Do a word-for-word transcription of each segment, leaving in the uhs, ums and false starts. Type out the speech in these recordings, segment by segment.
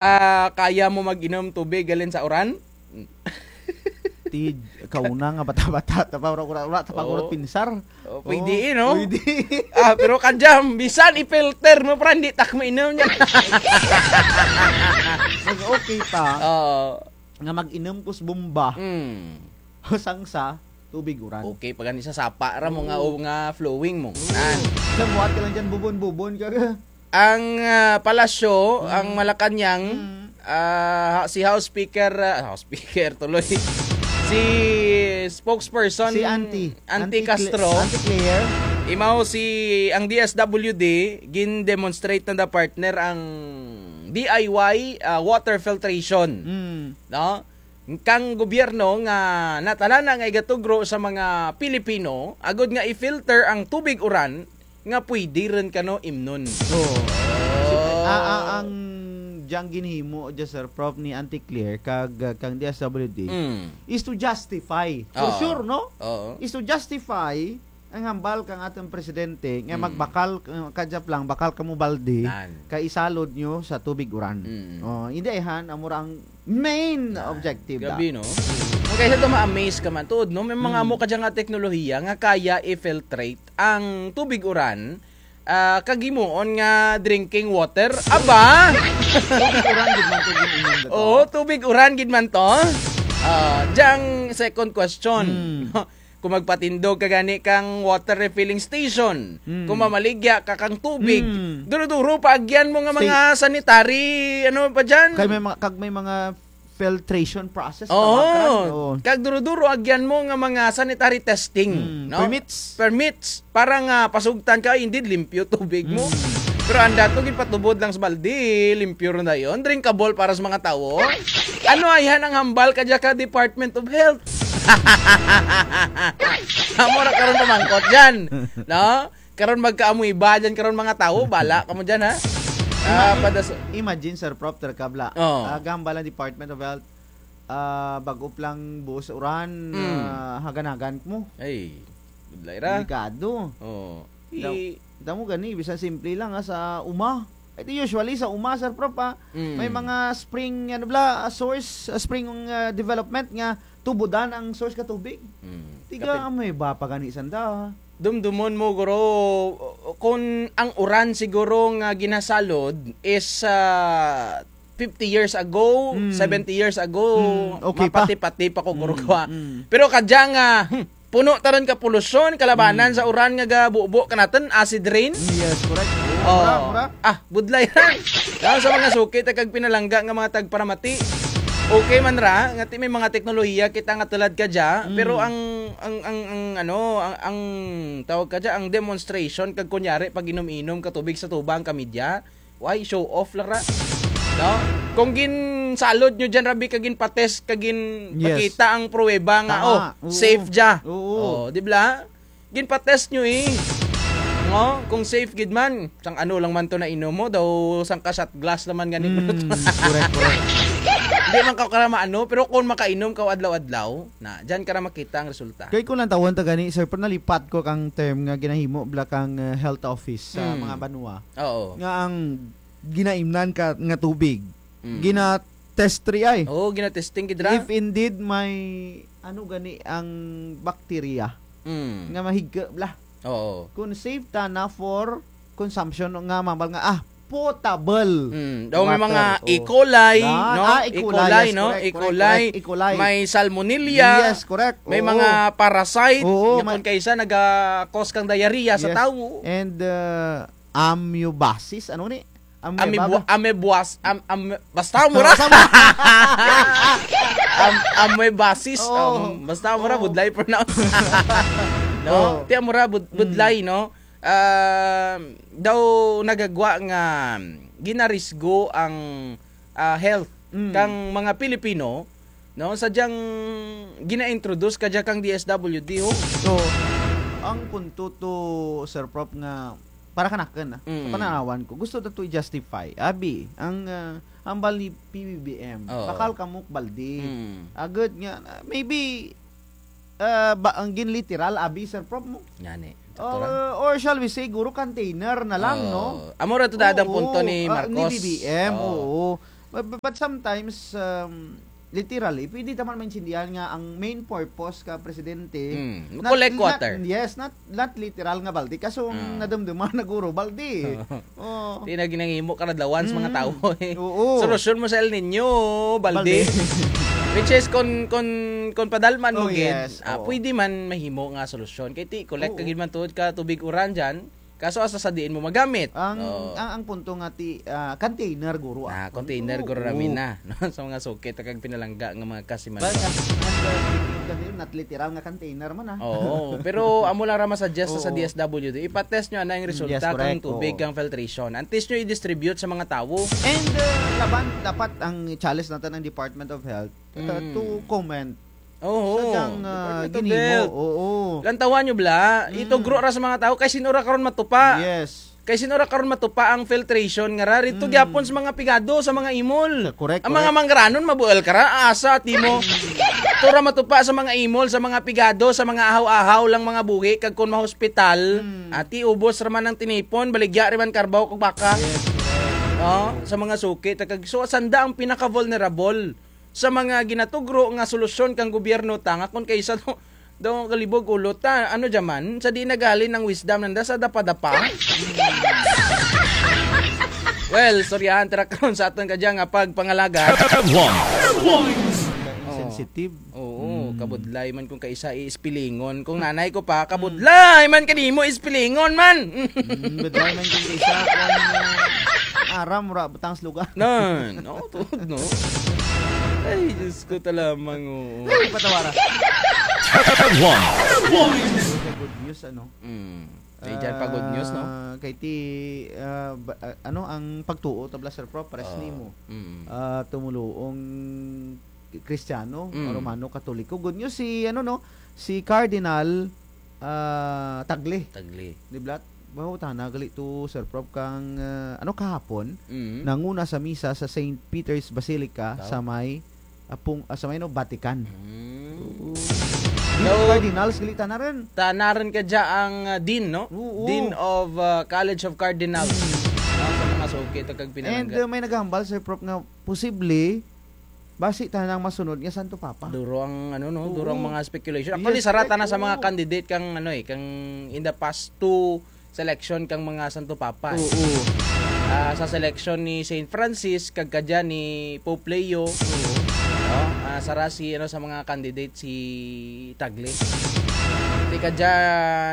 Ah, kaya mo mag-inom tubig halin sa uran? Ti, kauna nga bata-bata, ta pa, wara, wara, wara, ta pa, wara, oo, pinsar. Oh, pwede, eh, no? Pwede. Ah, pero kadya, bisan i-filter mo, para hindi ta mainom dyan. Mas okay pa. Oo. Nga mag-inom ko sa bomba. Mm. Sang sa tubig uran. Okay, pa gani sa sapa ra mo nga, mm, o nga flowing mo. Oo. Nan. Sa buhat ka lang dyan, bubon-bubon ka. Ang, ah, palasyo, mm, ang Malacañang, mm, ah, si House Speaker, ah, House Speaker tuloy. Si spokesperson, si Auntie. Auntie Auntie Cla-, Castro. Auntie Claire. Imaw si, ang D S W D, gin-demonstrate nanda, partner, ang D I Y, ah, water filtration. Mm. No? Kang gobyerno nga natala na nga igatugro sa mga Pilipino, agud nga i-filter ang tubig uran nga pwede run kano imnon. Oo. Oh. Ah, ah, ang dyang ginhimo dya, Sir Prof, ni Auntie Claire kag, ah, kang D S W D, mm, is to justify. For, oo, sure, no? Oo. Is to justify ang hambal kang atun presidente nga, mm, magbakal, uh, kadya pa lang, bakal kamo balde, nan, kay isalod nyo sa tubig uran. Mm. Oh, indi ayhan, amo ra ang main, nan, objective da. Grabe, no? Kaysa to ma-amaze ka man, tuod, no? May mga, mm, amo kadya nga teknolohiya nga kaya i-filtrate ang tubig uran, ah, kag himuon nga drinking water. Aba! Tubig uran gid man to, gid man to. Oo, tubig uran gid man to. Ah, dyang second question. Mm. Kung magpatindog ka gani kang water refilling station, mm, kung mamaligya ka kang tubig, mm, duro-duro pa agyan mo nga mga sanitary, ano pa dyan? Kay may mga, kag may mga filtration process, oo, tawagan. Oo. Kag duro-duro agyan mo nga mga sanitary testing, mm, no? Permits. Permits. Para nga pasugtan ka, indeed, limpyo tubig mo. Mm. Pero anda to, ginpatubod lang sa balde, limpyo run dayon. Drinkable para sa mga tawo. Ano ayhan ang hambal kadya ka Department of Health? Amo ra karon pamangkot dyan, no? Karon magkaamoeba dyan karon mga tawo, bala kamo dyan, ha? Ah, ima-, padas- imagine, Sir Prof, ter kabla. Oh. Ah, gahambal ang Department of Health, ah, bag-o pa lang buos uran, mm, ah, hagan-hagan mo. Ay, budlay ra. Delikado. Oh. Daw, i- tamo gani, bisan simple lang, ah, sa uma. Ay, di usually sa uma, Sir Prof, ah, mm, may mga spring, ano bala, ah, source, ah, spring, ah, development nga tubudan ang source ka tubig. Mm. Tiga, kapin- amoeba pa gani sanda. Dumdumon mo, guro, kung ang uran siguro nga ginasalod is, ah, fifty years ago, mm, seventy years ago, mm, okay pa. Mapati-pati pa ko, guro, mm, ko, ah. Mm. Pero kadya nga, hmm, puno ta run ka polusyon, kalabanan, mm, sa uran nga gabubo kanatun, acid rain. Yes, correct. Oo, oh, mura, mura. Ah, budlay ra. Daw sa mga suki ta kag pinalangga nga mga tagparamati. Okay man ra, nga ti may mga teknolohiya kita nga tulad kadya, mm, pero ang, ang, ang, ang, ano, ang, ang tawag kadya, ang demonstration kag kunyari pag-inom-inom ka tubig sa tubang ka media, why show off lang ra? No? Kung ginsalod nyo dyan, rabi, kag ginpatest, kag ginpakita ang pruweba nga, tama, oh, oo, safe dya. Oo. Oh, di bala? Ginpatest nyo, eh. No? Kung safe gid man, sang ano lang man to nainom mo, daw sangka shot glass lang man gani. Mm, correct, correct. Hindi man ka kara maano, pero kung makainom ka adlaw-adlaw, na, dyan ka ra makita ang resulta. Kay kung lantawon ta gani, sir, pero nalipat ko kang term nga ginahimo bala kang, eh, health office sa, mm, mga banwa. Oo. Nga ang ginaimnan ka nga tubig, mm, gina-test ri ay. Oo, gina-testing gid ra. If indeed may, ano gani ang bakterya, mm, nga mahigko bala. Oo. Kung safe tana for consumption nga mambal nga, ah, potable. Mm, daw may water, mga, oh, E. coli, yan, no? Ah, E. E. coli, coli, yes, no? Correct, E. correct, coli, correct. E. coli. May salmonella. Yes, correct. May, oo, mga parasite. Oo, nga may kung kaisa naga-cause kang diarrhea sa, yes, tawo. And, uh, amoebasis, ano ni? Ameba Amebo-, ba? Amebuas-, am-, am-, basta mo ra. Basta mo. Am-, amoebasis, oo, am-, basta mo ra, oo, budlay pronounce. No? Oo. Ti amo ra bud-, mm, budlay, no? Ah, daw nagagwa nga ginarisgo ang, ah, health, mm, kang mga Pilipino, no? Sadyang gina-introduce kadya kang D S W D, ho. So, ang punto to, Sir Prof, nga para kanakun, ah, sa, mm, pananawan ko, gusto ta to i-justify. Abi, ang, ah, hambal ni P B B M, oo, bakal kamo balde. Mm. Agud nga, ah, maybe, ah, ba, ang ginliteral, abi, Sir Prof, mo? Ngani. Sakto ra. Or, or shall we say, guro container na lang, no? Oo. Amo ra to daan ang punto ni, oo, ah, ni Marcos. B B M, oo, oo. But, but, but sometimes, um, literally, pwede ta man maintindihan nga ang main purpose ka presidente, mm, not, collect water. Not, yes, not, not literal nga balde. Kaso ang nadumduman na guro, balde. Oh. Ti na ginahimo karadlawan sa mga tawo, eh. Oo. Solusyon mo sa El Niño, balde. Balde. Which is, kon, kon, kon padalman mo gid, yes, ah, pwede man mahimo nga solusyon. Kay ti, collect ka gid man tuod ka tubig uran dyan. Kaso asa sa diin mo magamit? Ang, ang, ang punto nga ti, ah, container guro, ah. Ah, container guro ra mi na, no? Sa mga suki ta kag pinalangga nga mga kasimanwa. But, ah, and, ah, speaking of container, not literal nga container man, ah. Oo, pero amo lang ra ma-suggest sa D S W D. Ipa-test nyo ana ang resulta kang tubig kang filtration. Antes nyo i-distribute sa mga tawo. And, ah, laban, dapat ang challenge natin ang Department of Health, ah, to comment. Oo. Sa dyang, ah, ginimo. Oo. Lantawan nyo bala, itugro ra sa mga tawo, kay sin-o ra karon matupa. Yes. Kay sin-o ra karon matupa ang filtration nga ra, rito gyapon sa mga pigado, sa mga imol. Correct, correct. Ang mga manggaranon, mabuol ka ra, asa, ti mo. Ito ra matupa sa mga imol, sa mga pigado, sa mga ahaw-ahaw lang mga buhi, kag kon mahospital, ati ubos ra man ang tinipon, baligya ra man karbaw kag baka. Yes, correct. No? Sa mga suki, ta kag, so, sanda ang pinaka-vulnerable sa mga ginatugro nga solusyon kang gobyerno ta nga kon kaysa daw, daw kalibog ulo ta, ano dya man, sa diin naghalin ang wisdom nanda sa dapa-dapa? Well, storyahan ta ra karon sa atun kadya nga pagpangalagad. Headlines. Oo. Sensitive. Oo, kabudlay man kung kaysa i-spellingon. Kung nanay ko pa, kabudlay man kanimo i-spellingon man. Mm, budlay man kung kaysa, kung, ah, aram, ra, butang sa lugar. Nan, no, tuod, no? Ay, Diyos ko, ta lamang, oo. Ay, patawara. Headlines. Good news, ano? Mm. Ay, dyan pa good news, no? Ah, kay ti, ah, ba-, ah, ano, ang pagtuo ta bala, Sir Prof, pares nimo. Mm. Ah, tumuluong Kristiyano, Romano, Katoliko. Good news si, ano, no, si Cardinal, ah, Tagle. Tagle. Di bala, bawo tana gali to, Sir Prof, kang, ah, ano, kahapon, nanguna sa misa sa Saint Peter's Basilica sa may, apong, ah, sa may, no, Vatican. Mm. Oo. Dean of Cardinals, gali tana run. Tana run kadya ang, ah, Dean, no? Oo. Dean of, ah, College of Cardinals. Ah, sa mga suki ta kag pinalangga. And, ah, may naghambal, Sir Prof, nga posible, basi tana ang masunod nga Santo Papa. Duro ang, ano, no? Duro ang mga speculation. Actually, sara tana sa mga candidate kang, ano, eh, kang in the past two selection kang mga Santo Papa, eh. Oo. Ah, sa selection ni Saint Francis, kag kadya ni Pope Leo, no? Ah, sara si, ano, sa mga candidate si Tagle. Ti kadya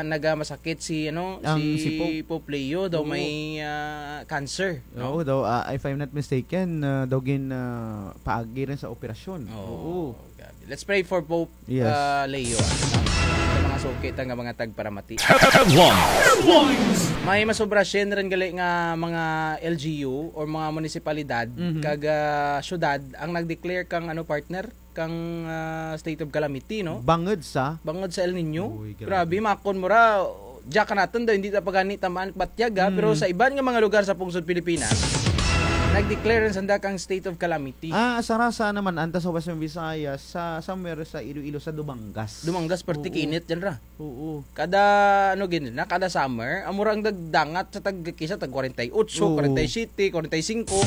nagamasakit si, ano, si Pope Leo, daw may, ah, cancer. Oo, daw, ah, if I'm not mistaken, ah, daw gin, ah, paagi run sa operasyon. Oo. Oo. Grabe. Let's pray for Pope, ah, Leo, ah, no? Sa mga suki ta nga mga tagparamati. May masobra syen run gali nga mga L G U or mga munisipalidad kag, ah, syudad ang nag-declare kang, ano, partner, kang, ah, state of calamity, no? Bangud sa? Bangud sa El Niño. Uy, grabe. Grabe, makon mo ra, dya kanatun daw, hindi ta pa gani tamaan batyag, ah, pero sa iban nga mga lugar sa pungsod Pilipinas, nag-declare run sanda kang state of calamity. Ah, sara sa naman, anta sa Western Visayas, sa somewhere sa Iloilo, sa Dumangas. Dumangas, perti kinit dyan ra. Oo. Kada, ano, gid na, kada summer, amo ra ang nagdangat sa tag, kisa tag kwarenta y otso, kwarenta y siyete, kwarenta y singko.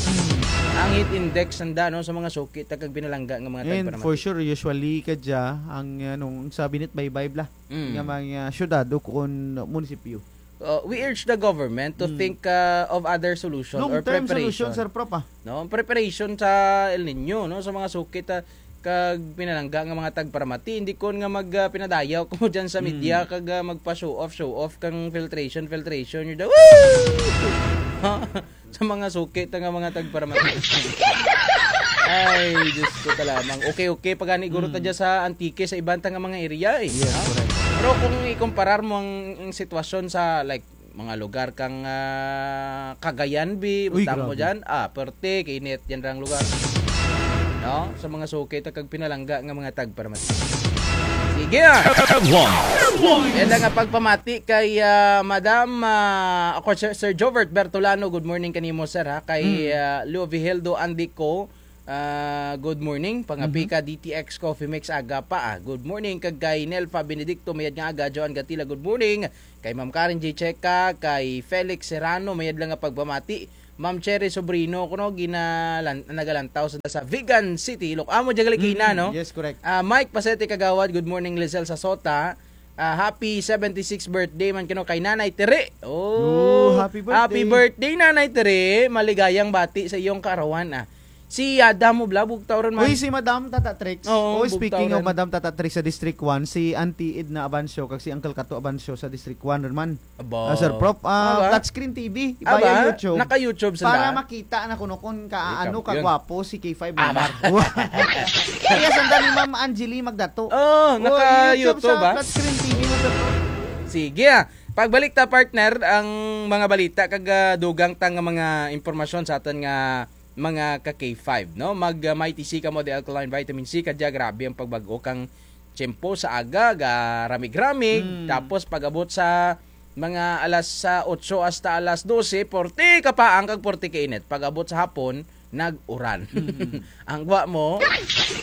Ang heat index nanda, no, sa mga suki ta kag pinalangga nga mga tagparamati. And for sure, usually kadya, ang, ano, sa binitbaybay bala nga mga syudad o kon munisipyo. Uh, we urge the government to think, uh, of other solution or preparation. Long-term solution, Sir Prof, ah. No, preparation sa El Niño, no, sa mga suki ta kag pinalangga nga mga tagparamati, hindi kon nga mag, ah, pinadayaw kamo dyan sa media kag, ah, magpa-show off, show off kang filtration, filtration nyo daw. Woo! Sa mga suki ta nga mga tagparamati. Ay, Diyos ko ta lamang. Okay, okay, pagani guro ta dyan sa Antique, sa iban ta nga mga area, eh. Yes, correct. Pero kung ikumparar mo ang, ang sitwasyon sa, like, mga lugar kang, ah, Cagayan, bi, butang mo dyan, ah, perte, kainit dyan rang lugar. No? Sa mga suki ta kag pinalangga nga mga tagparamati. Sige, ah. Yan lang ang pagpamati kay, ah, Madam, ah, ako, Sir, Sir Jovert Bertolano, good morning kanimo, sir, ha? Kay, ah, Leo Vigeldo Andico, ah, good morning. Pangapi ka D T X Coffee Mix, aga pa, ah. Good morning. Kag kay Nelfa Benedicto, mayad nga aga. Joan Gatila, good morning. Kay Ma'am Karen J Checa, kay Felix Serrano, mayad lang nga pagpamati. Ma'am Cherry Sobrino, kuno ginalan-, nagalantaw sa, sa Vigan City, Iloc-, amo dya gali kaina, no? Yes, correct. Ah, Mike Pasete Kagawad, good morning, Lizelle Sasota. Ah, happy seventy-six birthday man kuno kay Nanay Tere. Oh, happy birthday. Happy birthday, Nanay Tere. Maligayang bati sa iyong kaarawan, ah. Si Adam mo bala, bugtaw run man. Uy, si Madam Tata Trix. Oo, oh, speaking of Madam Tata Trix sa District one, si Auntie Edna Abancio, kag si Uncle Kato Abancio sa District one run man. Aba. Ah, Sir Prof, ah, flat screen T V. Aba, ibaya YouTube. Naka-YouTube sanda. Para makita na kuno kon kaano kagwapo si K five member. Kaya sanda ni Ma'am Angeli Magdato. Oh, naka-YouTube, ah. Flat screen T V mo, Sir Prof. Sige, ah. Pagbalik ta, partner, ang mga balita kag, ah, dugang ta nga mga impormasyon sa atun nga mga ka K five, no? Mag, ah, Mighty C kamo, the alkaline vitamin C, kadya grabe ang pagbag-o kang tiyempo sa aga, garamig-ramig, tapos pag-abot sa mga alas, ah, otso hasta alas dose, porte kapaang kag porte kainit. Pag-abot sa hapon, nag-uran. Ang gwa mo,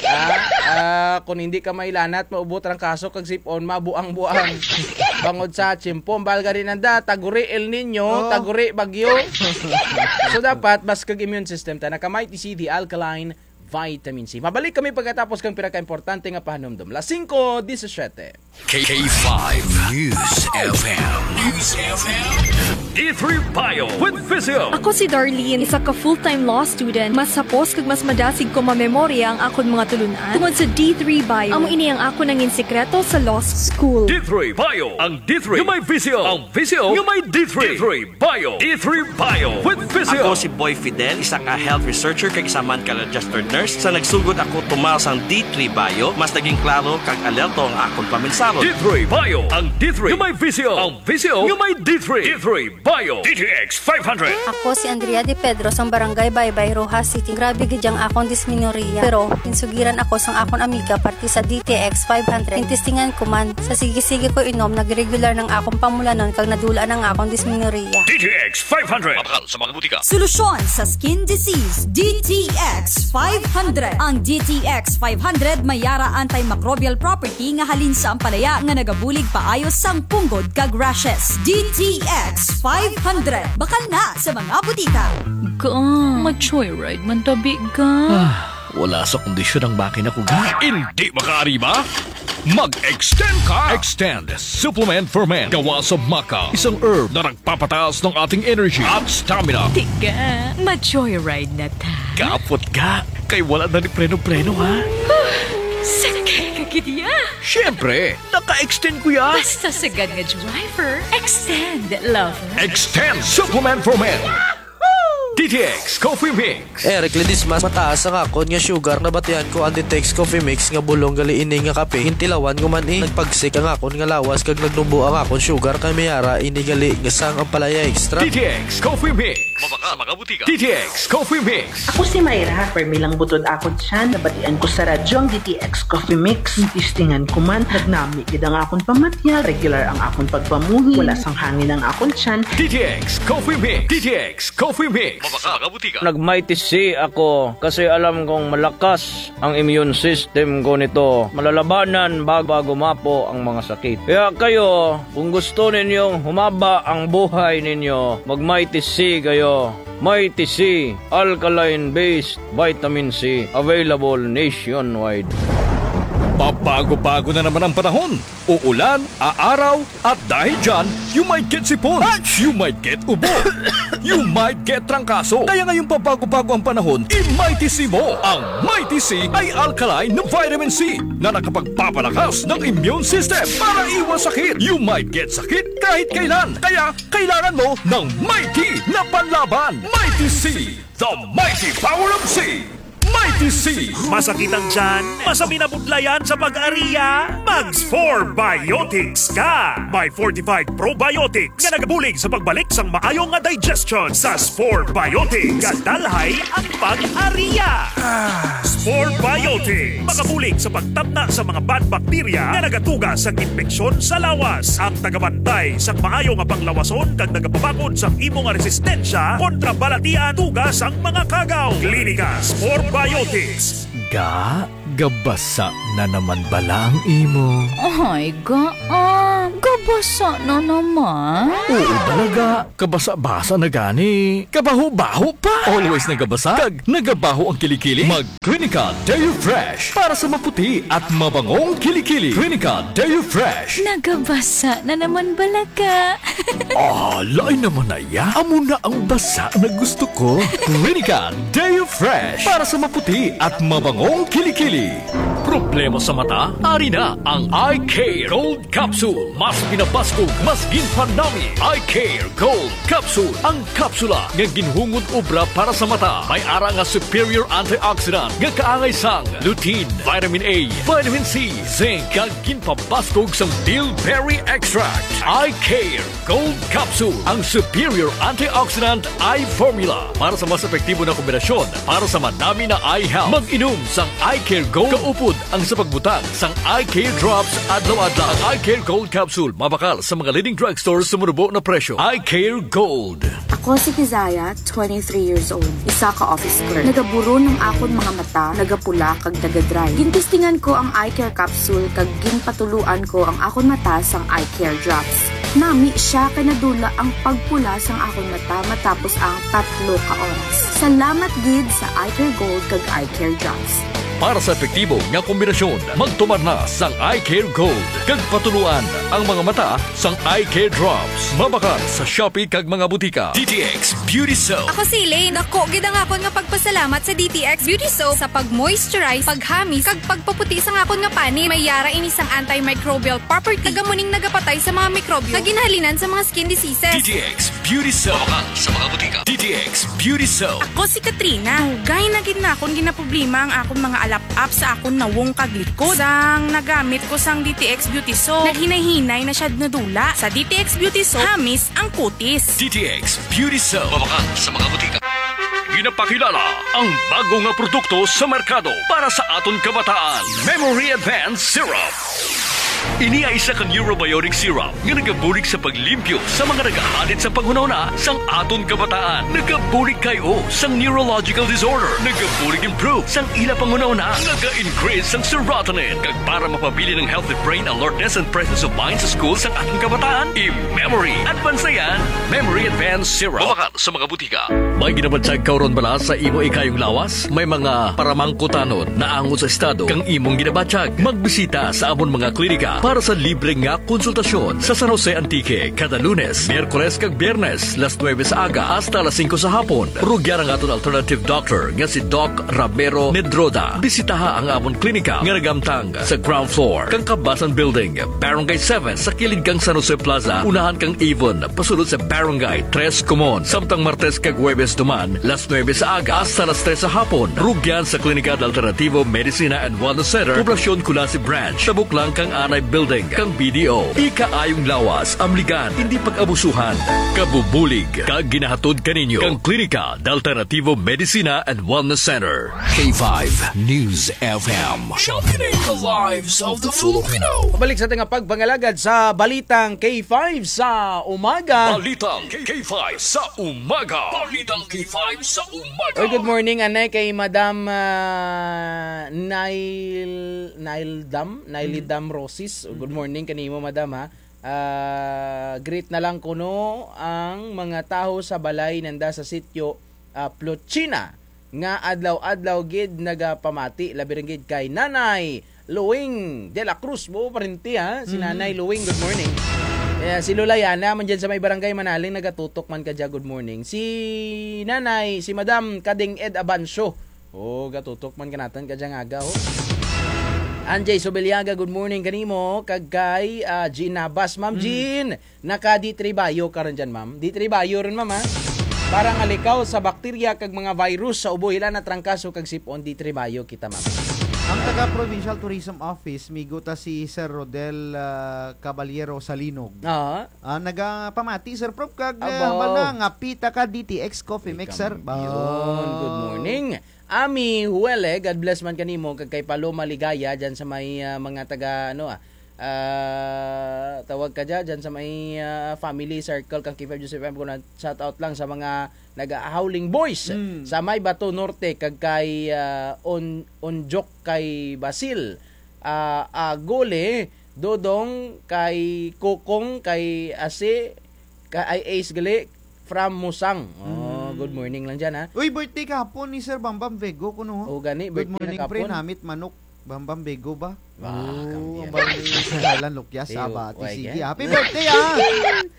ah, ah, kon indi ka mailanat, maubo trangkaso kag sip-on, mabuang-buang. Bangod sa tiyempo, ang bahal gani nanda, taguri El Niño, taguri bagyo. So, dapat, bas kag immune system ta, naka Mighty C, the alkaline vitamin C. Mabalik kami pagkatapos kang pinakaimportante nga pahanumdom. Las singko disisiete. K five News F M. News F M. D three Bio with Visio. Ako si Darlene, isa ka full-time law student. Mas hapos kag mas madasig ko mamemorya ang akon mga tulun-an tungod sa D three Bio. Amo ini ang akon nangin sikreto sa law school. D three Bio, ang D three nga may Visio, ang Visio nga may D three. D three Bio. D three Bio with Visio. Ako si Boy Fidel, isa ka health researcher kag isa man ka registered nurse. Sa nagsugod ako tumal sang D three Bio, mas naging klaro kag alerto ang akon paminsaro. D three Bio, ang D three nga may Visio, ang Visio nga may D three. D three Bio. D T X five hundred. Ako si Andrea De Pedro sang Barangay Baybay, Roxas City. Grabe gid ang akon dismenorrhea. Pero, ginsugiran ako sang akon amiga parte sa D T X five hundred. Gintestingan ko man. Sa sige-sige ko inom, nag-regular nang akon pamulanon kag nadul-an ang akon dismenorrhea. D T X five hundred. Mabakal sa mga butika. Solusyon sa skin disease, D T X five hundred. Ang D T X five hundred may ara antimicrobial property nga halin sa ampalaya nga nagabulig paayo sang punggod kag rashes. D T X five hundred. Bakal na sa mga butika. Ga, ma-joyride man tabi, ga. Ah, wala sa kondisyon ang makina ko, ga. Indi makaariba? Mag-extend ka! Extend Supplement for Men. Gawa sa maca, isang herb na nagpapataas ng ating energy at stamina. Ti ga, ma-joyride na ta. Kapot ga, kay wala na ni preno-preno, ha? Huh, sakay ka gid ya. Siyempre, naka-extend ko ya. Basta sagad nga driver, extend, lover. Extend Supplement for Men. D T X Coffee Mix. Eric Ledesma, mataas ang akon nga sugar, nabatian ko ang D T X Coffee Mix nga bulong gali ini nga kape, gintilawan ko man i. Nagpagsik ang akon nga lawas kag nagnubo ang akon sugar kay may ara ini gali nga sang ampalaya extra. D T X Coffee Mix. Mabakal sa mga butika. D T X Coffee Mix. Ako si Myra, permi lang butod akon tiyan, nabatian ko sa radyo ang D T X Coffee Mix. Testingan ko man, nagnami gid ang akon pamatyag, regular ang akon pagpamuhi, wala sang hangin ang akon tiyan. D T X Coffee Mix. D T X Coffee Mix. Mabakal sa mga butika. Nag-Mighty C ako kasi alam kong malakas ang immune system ko nito. Malalabanan bag-, bago mapo ang mga sakit. Kaya kayo, kung gusto ninyong humaba ang buhay ninyo, mag-Mighty C kayo. Mighty C, alkaline-based vitamin C, available nationwide. Pabago-bago na naman ang panahon. Uulan, aaraw, at dahil dyan, you might get sipon, you might get ubo, you might get trangkaso. Kaya ngayong pabago-bago ang panahon, i-Mighty C mo. Ang Mighty C ay alkaline na vitamin C na nakapagpapalakas ng immune system para iwas sakit. You might get sakit kahit kailan. Kaya kailangan mo ng Mighty na panlaban. Mighty C, the mighty power of C. Mighty C. Masakit ang tiyan? Masamin ang budlayan sa pag-aria? Mag-Spore Biotics ka! May fortified probiotics nga nagabulig sa pagbalik sang maayo nga digestion. Sa Spore Biotics, gadalhay ang pag-aria. Spore Biotics, makabulig sa pagtamna sa mga bad bacteria nga nagatuga sa impeksyon sa lawas. Ang tagabantay sang maayo nga panglawason kag nagapabakod sang imo nga resistensya kontra balatian tuga sang mga kagaw. Klinika Spore Biotics. Ga, gabasa na naman bala ang imo. Ay, ga, ah. Gabasa na naman? Oo, balaga. Kabasa-basa na gani. Kabaho-baho pa. Always nagabasa. Kag nagabaho ang kilikili. Mag Clinica Deo Fresh para sa maputi at mabangong kilikili. Clinica Deo Fresh. Nagabasa na naman balaga. Ah, lain naman na ya. Amo na ang basa na gusto ko. Clinica Deo Fresh para sa maputi at mabangong kilikili. Problema sa mata? Ari na ang Eye Care Gold Capsule. Mas pinabaskog, mas ginpanami. Eye Care Gold Capsule. Ang kapsula nga ginhungod obra para sa mata. May ara nga superior antioxidant nga kaangay sang lutein, vitamin A, vitamin C, zinc, kag ginpabaskog sang bilberry extract. Eye Care Gold Capsule, ang superior antioxidant eye formula para sa mas epektibo na kombinasyon para sa manami na eye health. Mag-inom sang Eye Care Gold kaupod ang sa pagbutang sang Eye Care Drops adlaw-adlaw. Ang Eye Care Gold Capsule mabakal sa mga leading drugstores sa manubo na presyo. Eye Care Gold. Ako si Kizaya, twenty-three years old, isa ka office clerk. Nagaburon ang akon mga mata, nagapula kag nagadry. Gintestingan ko ang Eye Care Capsule kag ginpatuloan ko ang akon mata sang Eye Care Drops. Nami siya kay nadula ang pagpula sang akon mata matapos ang tatlo ka oras. Salamat gid sa Eye Care Gold kag Eye Care Drops. Para sa epektibo nga kombinasyon, magtumar na sang Eye Care Gold kag patuloan ang mga mata sang Eye Care Drops. Mabakal sa Shopee kag mga butika. D T X Beauty Soap. Ako si Elaine. Dako gid ang akon nga pagpasalamat sa D T X Beauty Soap sa pag-moisturize, paghamis, kag pagpaputi sang akon nga panit. May ara ini sang antimicrobial property. Taga muning nagapatay sa mga mikrobyo nga ginahalinan sa mga skin diseases. D T X Beauty Soap. Mabakal sa mga butika. D T X Beauty Soap. Ako si Katrina. Dugay na gid nakon ginaproblema ang akon mga alap-ap sa akon nawong kag likod. Sang nagamit ko sang D T X Beauty Soap, naghinay-hinay na siya nadula. Sa D T X Beauty Soap, hamis ang kutis. D T X Beauty Soap. Mabakal sa mga butika. Ginapakilala ang bago nga produkto sa merkado para sa aton kabataan, Memory Advance Syrup. Ini ay isa ka neurobiotic syrup nga nagabulig sa paglimpyo sa mga nagahalit sa panghunahuna sang aton kabataan. Nagabulig kay-o sang neurological disorder. Nagabulig improve sang ila panghunahuna. Naga-increase sang serotonin. Kag para mapabilin ang healthy brain alertness and presence of mind sa school sang aton kabataan, i-Memory Advance na yan. Memory Advance Syrup. Mabakal sa mga butika. May ginabatyag ka run bala sa imo ikayong lawas? May mga paramangkutanon naangot sa estado kang imong ginabatyag? Magbisita sa amon mga klinika para sa libre nga konsultasyon sa San Jose, Antique, kada Lunes, Miyerkules kag Biyernes, las nuebe sa aga hasta las singko sa hapon. Rugyan ang aton alternative doctor nga si Doc Ramiro Nedroda. Bisitaha ang amon klinika nga nagamtang sa ground floor kang Kabasan Building, Barangay seven, sa kilid kang San Jose Plaza, unahan kang Avon, pasulod sa Barangay Tres Comon. Samtang Martes kag Huwebes duman, las nuebe sa aga hasta las tres sa hapon, rugyan sa Klinika de Alternativo Medicina and Wellness Center, Poblacion Culasi Branch, tabok lang kang Anay Building kang B D O. Ikaayong lawas, amligan, indi pag-abusuhan. Kabubulig kag ginahatod kaninyo kang Klinika de Alternativo Medicina and Wellness Center. K five News F M. Championing the lives of the Filipino. Balik sa aton nga pagpangalagad sa Balitang K five sa umaga. Balitang K five sa umaga. Balitang K five sa umaga. Oy, good morning, anay, kay Madam, ah, Nail, Nail Dam, Nail Dam Rosis. Good morning kanimo, Madam, ha. Ah, greet na lang kuno ang mga tawo sa balay nanda sa sitio, ah, Plochina, nga adlaw-adlaw gid nagapamati, labi run gid kay Nanay Luing de la Cruz. Buo parente, ha, si Nanay Luing. Good morning. Eh, si Lola Yana man dyan sa may Barangay Manaling, nagatutok man kadya, good morning. Si Nanay, si Madam Kading Ed Abancio, o, gatutok man kanatun kadya nga aga, o. Anjay Sobiliaga, good morning kanimo. Kag kay, ah, Jean Nabas. Ma'am Jean, naka-D three Bio ka run dyan, ma'am? D three Bio run, ma'am, ha? Para nga likaw sa bakterya kag mga virus sa ubo, hila na trangkaso kag sip-on, D three Bio kita, ma'am. Ang taga Provincial Tourism Office, migo ta si Sir Rodel, ah, Caballero Salinog. Ah, nagapamati, Sir Prof, kag, ah, hambal na nga pita ka D T X Coffee Mix, sir. Good morning. Ami Huwele, God bless man kanimo, kag kay Paloma Ligaya, dyan sa may, ah, mga taga, ano, ah, ah, tawag kadya, dyan sa may, ah, family circle kang K five News F M, kuno shout out lang sa mga naga-Howling Boys sa may Bato Norte, kag kay, ah, On-, Onjok kay Basil, ah, Agole, Dodong, kay Kokong, kay Asi, kay Ace gali, from Musang. Oh, mm, good morning lang dyan, ha. Uy, birthday kahapon ni Sir Bambam Vego kuno, ho. O, gani, good birthday morning, pre, kahapon. Namit manok. Bambam Vego ba? Ah, oh, kambiyan. Ang bali sa ngalan, Lukyas, Iyo, abati. Sige, happy birthday, ah!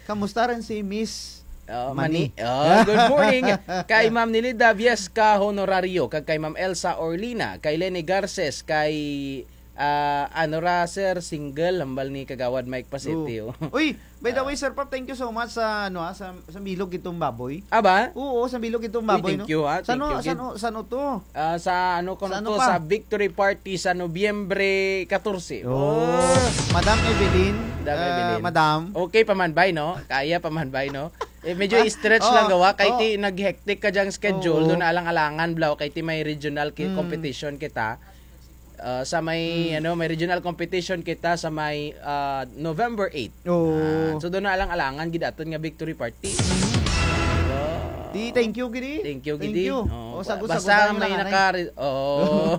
Kamusta rin si Miss Oh, Mani? Mani. Oh, good morning. Kay Ma'am Nilida Viesca Honorario, kag kay Ma'am Elsa Orlina, kay Lenny Garces, kay, ah, ano ra, sir, single, hambal ni Kagawad Mike Pasitio. Oh. Uy, by the way, Sir Pap, thank you so much sa, ano, ah, sa, sa bilog itong baboy. Ah, ba? Oo, sa bilog itong baboy, no? Uy, thank you, ha? Thank you, gid. Saan, saan, saan to? Ah, sa, ano, kuno to, sa Victory Party sa Nobyembre katorse. Oh. Oh. Madam Evelyn, Madam ah, Evelyn. Madam. Okay pa man bay, no? Kaya pa man bay, no? Eh, medyo stretch lang gawa, kay ti nag-hectic ka dyang schedule, dun alang-alangan, bla, kay ti may regional ki-, competition kita. Ah, sa may, ano, may regional competition kita sa may, ah, November eight. Oo. Ah, so, dun alang-alangan gid aton nga victory party. Di, thank you, gidi. Thank you, gidi. Thank you. Oh, o, sagot, sagot, basta may naka-, oo.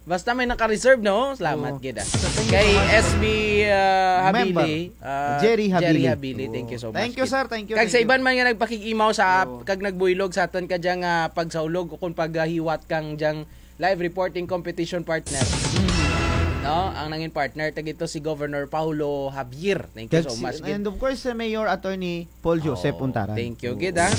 Basta may naka-reserve, no? Salamat gid, ah. Kay S B, ah, Habili, ah, Jerry Habili, thank you so much, sir. Thank you, gid. Kag sa iban man nga nagpakig-imaw sa, kag nagbuylog sa aton kadyang, ah, pagsaulog o kung paghiwat kang dyang live reporting competition partner. No? Ang nangin partner, tagito si Governor Paulo Javier. Thank you so much, gid. And of course, si Mayor Attorney Paul Joseph Untaran. Thank you, gid, ah.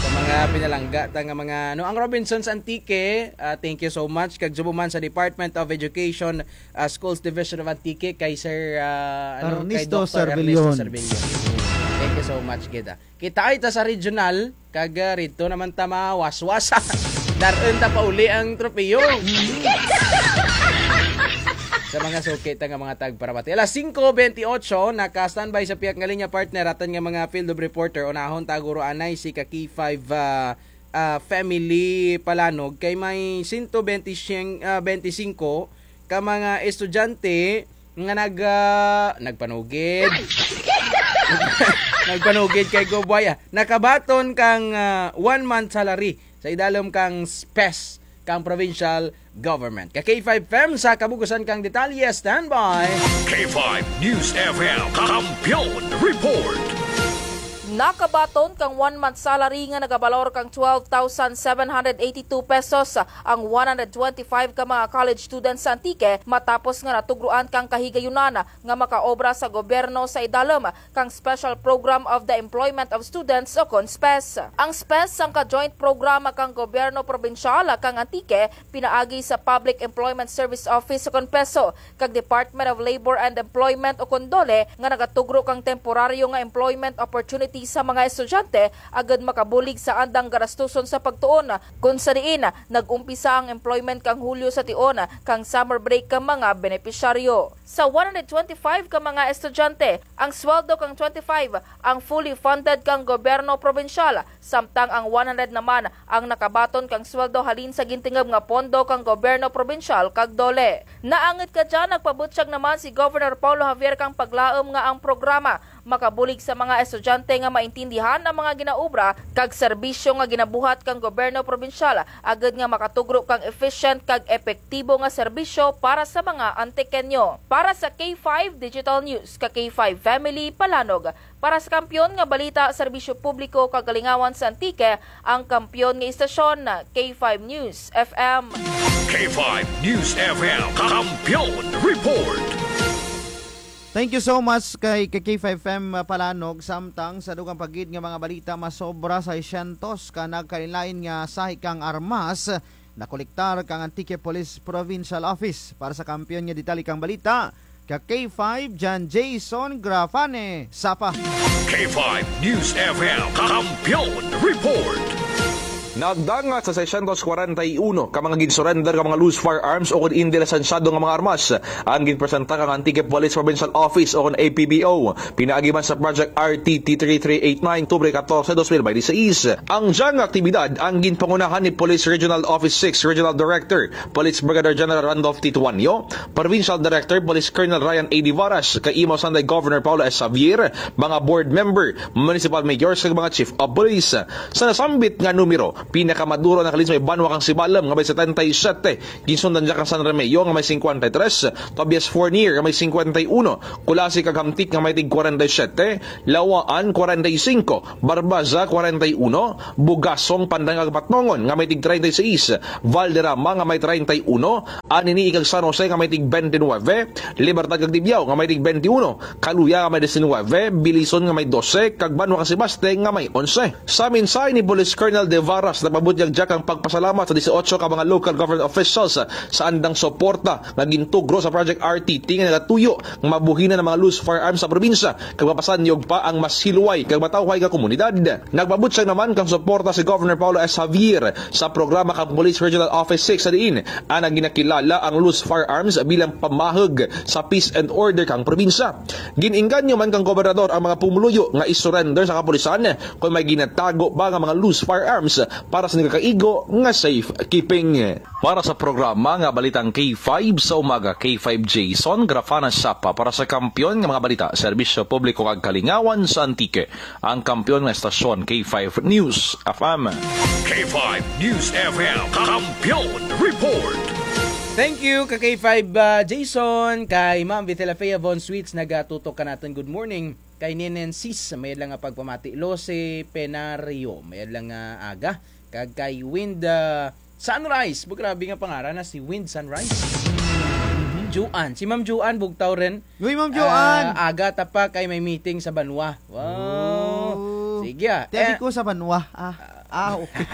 Sa mga pinalangga ta nga mga, ano, ang Robinsons Antique, ah, thank you so much. Kag subo man sa Department of Education, ah, Schools Division of Antique, kay Sir, ah, ano, kay Ernesto Doctor Ernesto Servillon. Servillon. Thank you so much, gid, ah. Kitaay ta sa regional, kag, ah, rito naman ta mawaswas. Dar-un ta pauli ang tropeyo. Sa mga suki ta nga mga tagparamati. Alas singko bentiocho, naka-standby sa piyak nga linya partner, aton nga mga field of reporter. Unahon ta guro anay si ka K five, ah, ah, family palanog. Kay may sento bente siyeng, ah, bente singko ka mga estudyante nga nag-, ah, nagpanugid. Nagpanugid kay Gobway, ah. Nakabaton kang, ah, one month salary sa idalom kang SPES kang provincial government. Ka K five F M sa kabugusan kang detalye, standby. K five News F M, Kampiyon Report. Nakabaton kang one month salary nga nagabalor kang twelve thousand seven hundred eighty-two pesos ang one hundred twenty-five ka mga college students sa Antique matapos nga natugruan kang kahigayunan nga makaobra sa gobyerno sa idalom kang Special Program of the Employment of Students o kon SPES. Ang SPES sangka joint programa kang gobyerno probinsyal kang Antique pinaagi sa Public Employment Service Office o kon PESO kag Department of Labor and Employment o kon DOLE nga nagatugro kang temporaryo nga employment opportunity sa mga estudyante agud makabulig sa andang garastuson sa pagtuon, kun sa diin nag-umpisa ang employment kang Hulyo sa tion kang summer break kang mga benepisyaryo. Sa one hundred twenty-five ka mga estudyante, ang sweldo kang twenty-five ang fully funded kang gobyerno probinsyal, samtang ang one hundred naman ang nakabaton kang sweldo halin sa gintingob nga pondo kang gobyerno probinsyal kag DOLE. Naangut kadya, nagpabutyag naman si Governor Paulo Javier kang paglaum nga ang programa makabulig sa mga estudyante nga maintindihan ang mga ginaobra kag serbisyo nga ginabuhat kang gobyerno probinsyal, agud nga makatugro kang efficient kag epektibo nga serbisyo para sa mga Antiqueño. Para sa K five Digital News, ka K five Family Palanog, para sa Kampiyon nga Balita, Serbisyo Publiko kag Kalingawan sa Antique, ang kampiyon nga istasyon, K five News F M. K five News F M, Kampiyon Report. Thank you so much kay, kay K five F M, ah, Palanog. Samtang sa dugang pa gid nga mga balita, masobra sa seiscientos ka nagkalain-lain nga sahi kang armas nakolektar kang Antique Police Provincial Office. Para sa kampiyon nga detalye kang balita, ka K five, dyan Jason Grafane, Sapa. K five News F M, Kampiyon Report. Nagdangat sa seiscientos kwarenta y uno ka mga ginsurrender nga mga loose firearms o kon indi lisensyado nga mga armas ang ginpresenta kang Antique Police Provincial Office o kon A P P O. Pinaagi man sa Project R T T three three eight nine, Oktubre katorse, dos mil baynte sais. Ang dyang aktibidad ang ginpangunahan ni Police Regional Office six Regional Director, Police Brigadier General Randolph Tituanio, Provincial Director, Police Colonel Ryan A D Varas, kaimaw sa Antique Governor Paolo S. Javier, mga board member, municipal mayors, kag mga chief of police. Sa nasambit nga numero, Pinakamaduro nga nakalis may banwa kang Sibalom nga may setenta y siyete. Ginsundan dya kang San Remigio nga may singkwenta y tres. Tobias Fornier nga may singkwenta y uno. Culasi kag Hamtic nga may tig kwarenta y siyete. Lawaan, kwarenta y singko. Barbaza, kwarenta y uno. Bugasong, Pandan kag Patnongon nga may tig treinta y seis. Valderrama nga may treinta y uno. Anini-y kag San Jose nga may tig bente nuwebe. Libertad kag Tibiao nga may tig bente uno. Caluya nga may disinwebe, Belison nga may dose, kag banwa kang Sebaste nga may onse. Sa mensahe ni Police Colonel De Varas, nagpabutyag dya kang pagpasalamat sa dieciocho ka mga local government officials sa andang suporta nga gintugro sa Project R T T nga nagatuyo nga mabuhinan ang mga loose firearms sa probinsya kag mapasanyog pa ang mas hilway kag matawhay nga komunidad. Nagpabutyag naman kang suporta si Governor Paolo S. Javier sa programa kang Police Regional Office six sa diin ana ginakilala ang loose firearms bilang pamahug sa peace and order kang probinsya. Gin-engganyo man kang gobernador ang mga pumuluyo nga i-surrender sa kapulisan kon may ginatago pa nga mga loose firearms para sa nagakaigo nga safekeeping. Para sa programa nga Balitang K five sa Umaga, K five Jason Grafana Sapa para sa Kampiyon nga mga Balita, Serbisyo Publiko kag Kalingawan sa Antique. Ang kampiyon nga estasyon, K five News F M. K five News F M, Kampiyon Report. Thank you ka K five, ah, Jason, kay Ma'am Vitela Fea Von Sweets nagatutok kanatun. Good morning. Kay Nenen Sis, mayad lang nga pagpamati. Lose Penario, mayad lang nga aga. Kag kay Wind, ah, Sunrise. Bu, grabe nga pangaran na si Wind Sunrise. Juan. Si Ma'am Juan, bugtaw run. Uy, Ma'am Joan! Ah, aga ta pa kay may meeting sa banwa. Wow. Oh. Sige, ah. Ti abi ko sa banwa. Ah, ah, okay.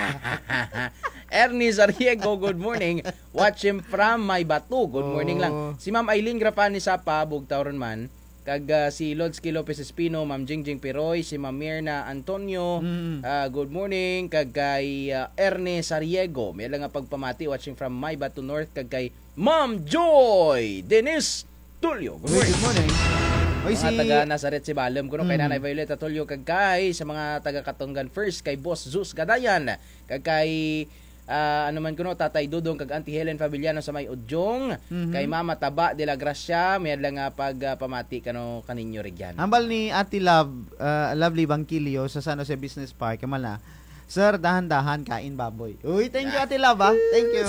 Ernie Zariego, good morning. Watching from Maybato. Good morning lang. Oh. Si Ma'am Eileen Grafani Sapa, bugtaw run man. Kag, ah, si Lods K. Lopez Espino, Ma'am Jingjing Piroy, si Ma'am Mirna Antonio. Mm. Ah, good morning. Kag kay, ah, Ernie Zariego. Mayad lang nga pagpamati, watching from Maybato North. Kag kay Ma'am Joy Denise Tulio. Good morning. Good morning. Oy, mga taga Nazaret Sibalom kuno kay Nanay Violeta Tulio kag kay sa mga taga Katungan First kay Boss Zeus Gadayan kag kay, ah, ano man kuno, Tatay Dudong kag Auntie Helen Fabiliano sa may Udyong, kay Mama Taba de la Gracia, mayad lang nga pag, ah, pamati kano kaninyo rugyan. Hambal ni Ate Love, ah, Lovely Bangkilio sa San Jose Business Park, kamala, Sir, dahan-dahan kain baboy. Uy, thank you, Ate Love, ah. Thank you.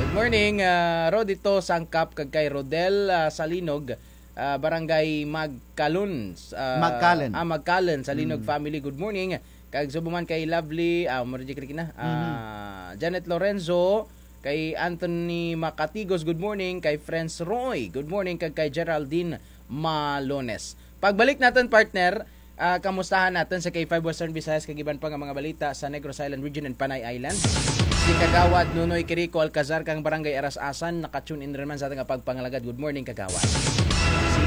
Good morning, ah, Rodito Sangkap kag kay Rodel, ah, Salinog, ah, Barangay Magcalon, ah, Magcalon. Ah, Magcalon, Salinog family. Good morning. Kag subo man kay Lovely, ah, mo reject na. Ah, Janet Lorenzo, kay Anthony Macatigos, good morning. Kay Friends Roy, good morning. Kag kay Geraldine Malones. Pagbalik natun, partner, ah, kamustahan natun sa K five Western Visayas kag iban pa nga mga balita sa Negros Island Region and Panay Island. Si Kagawad Nonoy Quirico Alcazar kang Barangay Aras-asan, naka-tune in run man sa atun nga pagpangalagad. Good morning, Kagawad.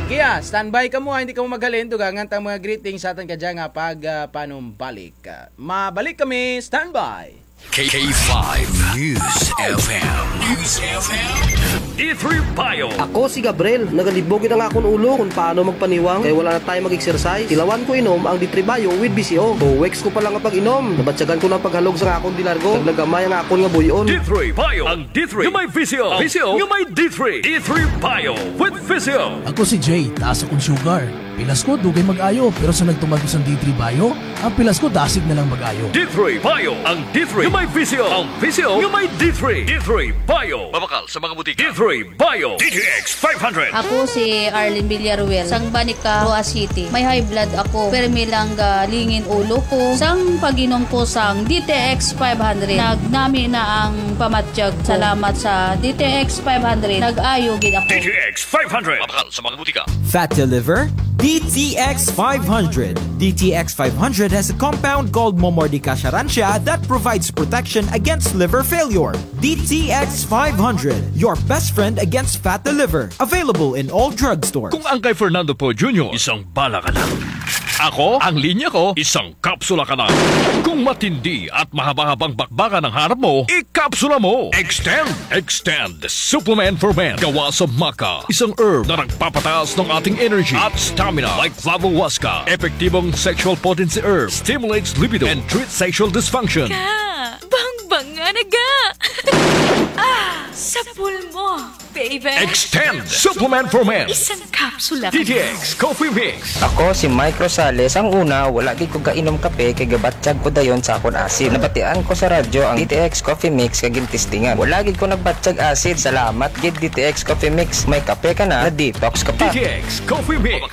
Sige, ah, standby kamo, ah, hindi kamo maghalin, dugangan ta ang mga greetings sa atun kadya nga pag, ah, panumbalik. Ah, mabalik kami, standby. K five News F M. News F M. D three Bio. Ako si Gabriel. Nagalibog gid ang akon ulo kon paano magpaniwang kay wala na time mag-exercise. Tilawan ko inom ang D three Bio with V C O. Two weeks ko pa lang nga pag-inom, nabatyagan ko na ang paghalog sa akon di largo. Naglagamay ang akon nga buy-on. D three Bio. Ang D three nga may V C O. V C O nga may D three. D three Bio with V C O. Ako si Jay. Taas akon sugar. Pilas ko, dugay mag-ayo, pero sa nagtuman ko sang D three Bio, ang pilas ko dasig na lang mag-ayo. D three Bio, ang D three nga may V C O, ang V C O nga may D three. D three Bio. Mabakal sa mga butika. D three Bio. D T X five hundred. Ako si Arlene Villaruel, sang Banica, Roxas City. May high blood ako, permi lang galingin ulo ko. Sang pag-inom ko sang D T X five hundred, nagnami na ang pamatyag ko. Salamat sa D T X five hundred, nag-ayo gid ako. D T X five hundred. Mabakal sa mga butika. Fat to liver? D T X five hundred. D T X five hundred has a compound called Momordica charantia that provides protection against liver failure. D T X five hundred, your best friend against fat to liver. Available in all drugstores. Kung ang kay Fernando Poe Junior, isang bala ka na. Ako, ang linya ko, isang kapsula ka na. Kung matindi at mahaba-habang bakbakan ang harap mo, ikapsula mo. Extend, Extend Supplement for Men. Gawa sa maca, isang herb na nagpapataas ng ating energy at stamina, like flavohuasca. Epektibong sexual potency herb, stimulates libido and treats sexual dysfunction. Ka, bangbanga na ga. Ah, sa Sa pulmo, baby. Extend Supplement for Men. Isang kapsula. D T X Coffee Mix. Ako si Mike Rosales. Ang una, wala gid ko gainom kape kay gabatyag ko dayon sa akon asid. Nabatian ko sa radyo ang D T X Coffee Mix kag gintestingan. Wala gid ko nagbatyag asid. Salamat gid D T X Coffee Mix. May kape ka na, na-detox ka pa. D T X Coffee Mix.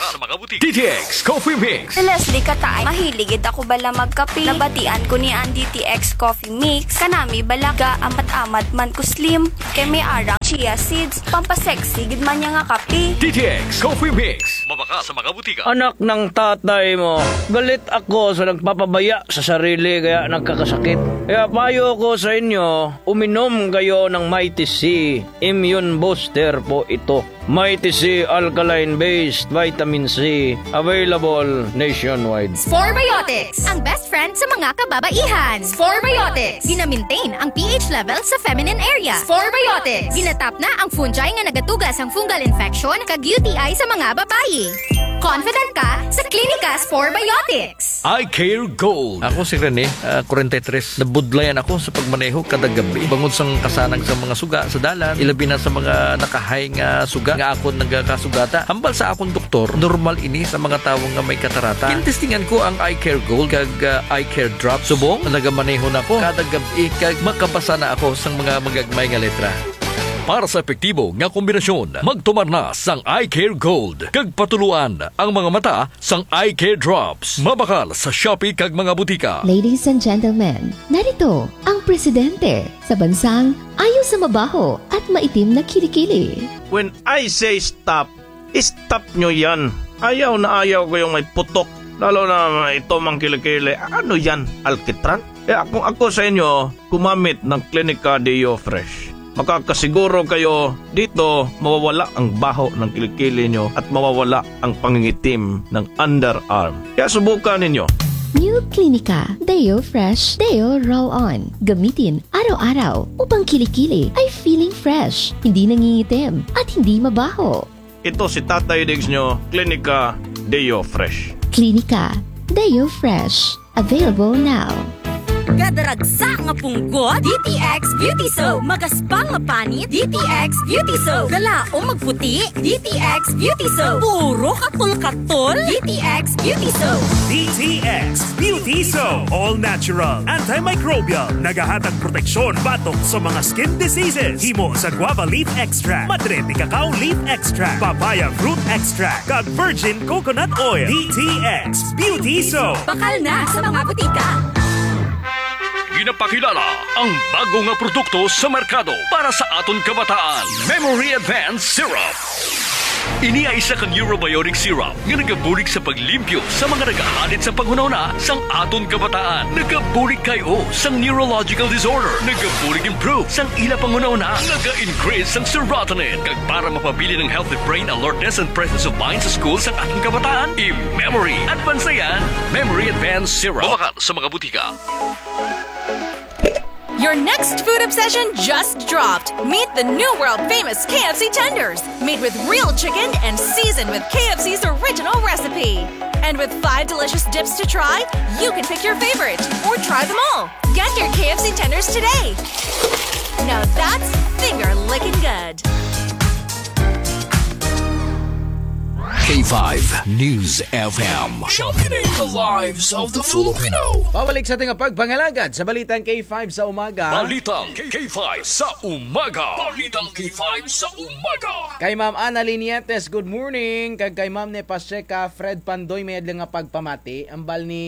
D T X Coffee Mix. Si Leslie Katay, mahilig gid ako bala magkape. Nabatian ko ni ang D T X Coffee Mix. Kanami bala gaamat-amat man ko slim. Kay may ara ang chia seeds, pampasexy gid man dya nga kape. D T X Coffee Mix. Mabakal sa mga butika. Anak ng tatay mo, galit ako sa nagpapabaya sa sarili kaya nagkakasakit. Kaya payo ko sa inyo, uminom kayo ng Mighty C. Immune booster po ito. Mighty C alkaline-based vitamin C, available nationwide. Sporebiotics, ang best friend sa mga kababaihan. Sporebiotics, gina-maintain ang pH level sa feminine area. Sporebiotics, ginatap na ang fungi nga nagatuga sang fungal infection kag U T I sa mga babayi. Confident ka sa Clinica Sporebiotics. Eye Care Gold. Ako si Rene, ah, kwarenta y tres. Nabudlayan ako sa pagmaneho kada gabi. Bangod sang kasanag sa mga suga sa dalan, ilabi na sa mga nakahay nga suga nga akon nagakasugata. Hambal sa akon doktor, normal ini sa mga tawo nga may katarata. Gintestingan ko ang Eye Care Gold kag, ah, Eye Care Drop. Subong, nagamaneho na ako kada gab-i kag makabasa na ako sang mga magagmay nga letra. Para sa epektibo nga kombinasyon, magtumar na sang Eye Care Gold kag patuloan ang mga mata sang Eye Care Drops. Mabakal sa Shopee kag mga butika. Ladies and gentlemen, narito ang presidente sa bansang ayaw sa mabaho at maitim na kilikili. When I say stop, stop nyo yan. Ayaw na ayaw ko yung may putok. Lalo na ito mang kilikili. Ano yan? Alkitran? Kaya kung ako sa inyo, gumamit ng Clinica Deo Fresh. Makakasiguro kayo dito mawawala ang baho ng kilikili nyo at mawawala ang pangingitim ng underarm. Kaya subukan ninyo. New Clinica Deo Fresh Deo Roll On. Gamitin araw-araw upang kilikili ay feeling fresh, hindi nangingitim, at hindi mabaho. Ito si Tatay Diggs nyo, Clinica Deo Fresh. Clinica Deo Fresh. Available now. Gadaragsa nga punggot, D T X Beauty Soap. Magaspang nga panit, D T X Beauty Soap. Galaom magputi, D T X Beauty Soap. Puro katol-katol, D T X Beauty Soap. D T X Beauty Soap. All natural, antimicrobial. Nagahatag proteksyon batok sa mga skin diseases. Himo sa guava leaf extract, madre de cacao leaf extract, papaya fruit extract, kag virgin coconut oil. D T X Beauty Soap. Bakal na sa mga butika. Ginapakilala ang bago nga produkto sa merkado para sa aton kabataan, Memory Advance Syrup. Ini ay isa ka neurobiotic syrup nga nagabulig sa paglimpyo sa mga nagahalid sa panghunahuna sang aton kabataan. Nagabulig kay-o sang neurological disorder. Nagabulig improve sang ila panghunahuna. Naga-increase sang serotonin. Kag para mapabilin ang healthy brain alertness and presence of mind sa school sang aton kabataan, i-Memory Advance na yan. Memory Advance Syrup. Mabakal sa mga butika. Your next food obsession just dropped. Meet the new world famous K F C tenders, made with real chicken and seasoned with K F C's original recipe. And with five delicious dips to try, you can pick your favorite or try them all. Get your K F C tenders today. Now that's finger licking good. K five News F M. Championing the lives of the Filipino. Pabalik sa ating pagpangalagad sa Balitang K five sa umaga. Balitang K five sa umaga. Balitang K five sa umaga. Kay Ma'am Ana Linietes, good morning. Kag kay Ma'am Ne Pacheca, Fred Pandoy, may adlaw nga pagpamati. Ambal ni,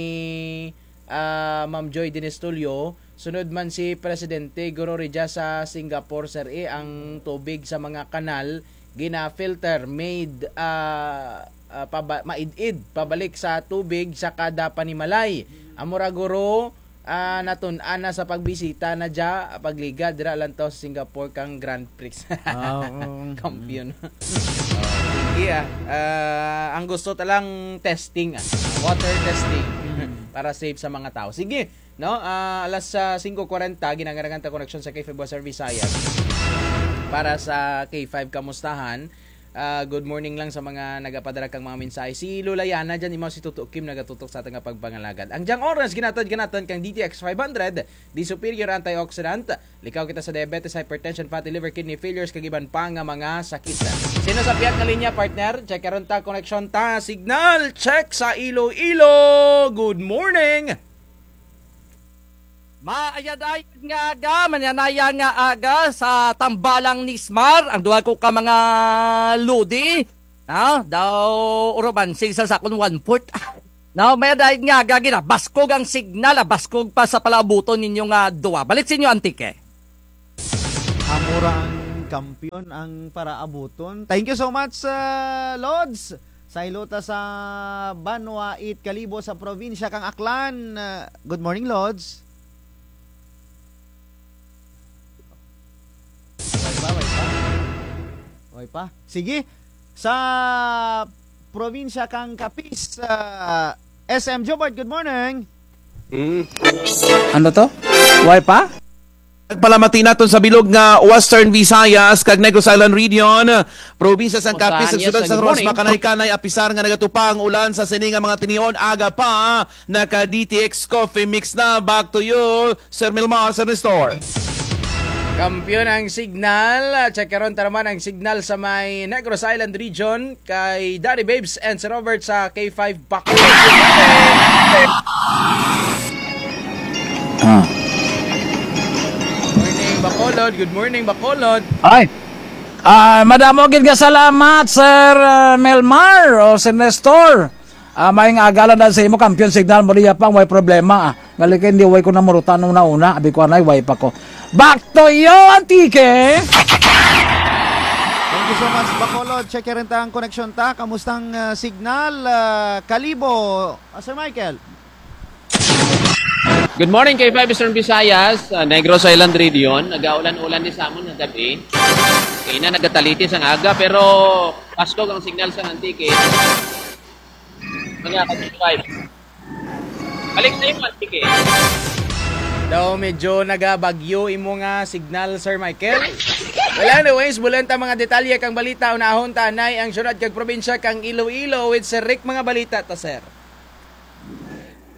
ah, Ma'am Joy Dinistulio, sunod man si Presidente, guro, rugya sa Singapore, sir, eh, ang tubig sa mga kanal, gina-filter, made, ah, ah, paba-, maid-id, pabalik sa tubig sa kada panimalay. Amo ra, guro, ah, natun-an na sa pagbisita na dya, pagligad dira lantaw sa Singapore kang Grand Prix. Ah, oo. Kampiyon. Iya, ah, ang gusto ta lang testing, ah. Water testing. Mm. Para safe sa mga tao. Sige, no? Ah, alas, ah, singko kwarenta, ginangaragan ta koneksyon sa K five West Service Visayas. Para sa K five Kamustahan, Ah, good morning lang sa mga nagapadara kang mga mensahe. Si Lola Yana dyan, imaw si Tuto Kim nagatutok sa atun nga pagpangalagad. Ang dyang oras, ginahatod kanatun kang D T X five hundred, the superior antioxidant. Likaw kita sa diabetes, hypertension, fatty liver, kidney failures, kag iban pa nga mga sakit. Sin-o sa pihak nga linya, partner? Check karon ta, koneksyon ta. Signal, check sa Iloilo. Good morning. Maayad-ayad nga aga, mañanaya nga aga sa tambalang Nismar, ang duha ko ka mga lodi, no? Daw uruban, sing sa sakon one-fourth. No, maayad-ayad nga aga, ginabaskog ang signal, ah, baskog pa sa palaabuton ninyo nga duha. Balik sa inyo, Antique. Amo ra ang kampiyon ang paraabuton. Thank you so much, ah, Lods. Sa hilota sa Banwa it Kalibo sa probinsya kang Aklan. Ah, good morning, Lods. Way pa, way pa. Way pa. Sige. Sa probinsya kang Capiz, ah, S M Jobart, good morning. Mm. Ano to? Way pa? Pagpalamati natun sa bilog nga Western Visayas kag Negros Island Region, probinsya sang Capiz, ug syudad sang Roxas, makanay-kanay, apisar nga nagatupa ang ulan sa sini nga mga tinion, aga pa, naka D T X Coffee Mix na. Back to you, Sir Milmar, Sir Nestor. Kampiyon ang signal. Check karon ta naman ang signal sa may Negros Island Region. Kay Daddy Babes and Sir Robert sa K five Bacolod. Ah. Morning, Bacolod. Good morning, Bacolod. Ay. Ah, madamo gid nga salamat, Sir, ah, Melmar o Sir Nestor. Ah, maayong aga lang sa imo, kampiyon signal mo diya pang, way problema, ah. Gali kay hindi, way ko namurutan una-una, abi ko anay, way pa ko. Back to you, Antique! Thank you so much, Bacolod. Check rin ta ang koneksyon ta. Kamusta ang, ah, signal, ah, Kalibo? Ah, Sir Michael? Good morning, K five Eastern Visayas, ah, Negros Island Region. Nagaulan-ulan ni sa amon nga gab-i. Kay na nagatalitis ang aga, pero baskog ang signal sa Antique. Mga ka-K five. Balik sa imo, Antique. Daw medyo nagabagyo imo nga signal, Sir Michael. Well, anyways, bulan ta mga detalye kang balita, unahon ta anay ang syudad kag probinsya kang Iloilo with Sir Rick. Mga balita ta, sir.